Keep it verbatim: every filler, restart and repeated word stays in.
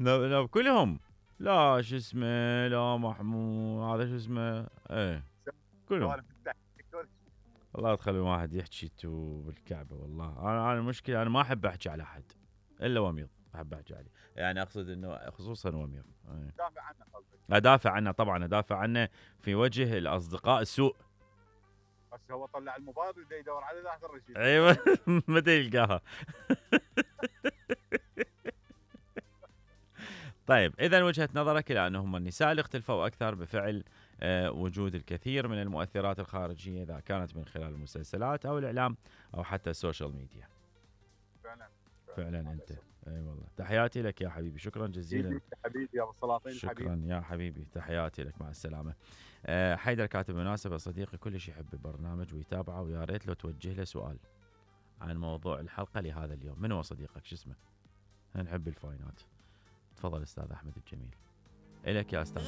نب نب كلهم. لا شو اسمه، لا محمود هذا شو اسمه، ايه كلهم. والله تخلي واحد يحكي تو بالكعبه. والله انا انا المشكله انا ما احب احكي على احد الا وميض، احب احكي عليه. يعني اقصد انه خصوصا وميض. ايه. دافع عنه قصدك؟ ادافع عنه طبعا، ادافع عنه في وجه الاصدقاء السوء. بس هو طلع المباراه ودا يدور على ذاك الرشيد. ايوه متى يلقاها. طيب اذا وجهه نظرك الى انهم النساء اللي اختلفوا اكثر بفعل آه وجود الكثير من المؤثرات الخارجيه، اذا كانت من خلال المسلسلات او الاعلام او حتى السوشيال ميديا. فعلا فعلا انت. اي أيوة والله. تحياتي لك يا حبيبي، شكرا جزيلا. حبيبي يا ابو السلاطين. شكرا حبيبي. يا حبيبي تحياتي لك، مع السلامه. أه حيدر كاتب مناسبه صديقي كلش يحب البرنامج ويتابعه، ويا ريت لو توجه له سؤال عن موضوع الحلقه لهذا اليوم. من هو صديقك؟ شو اسمه؟ نحب الفاينات. تفضل استاذ احمد الجميل. الك يا استاذ.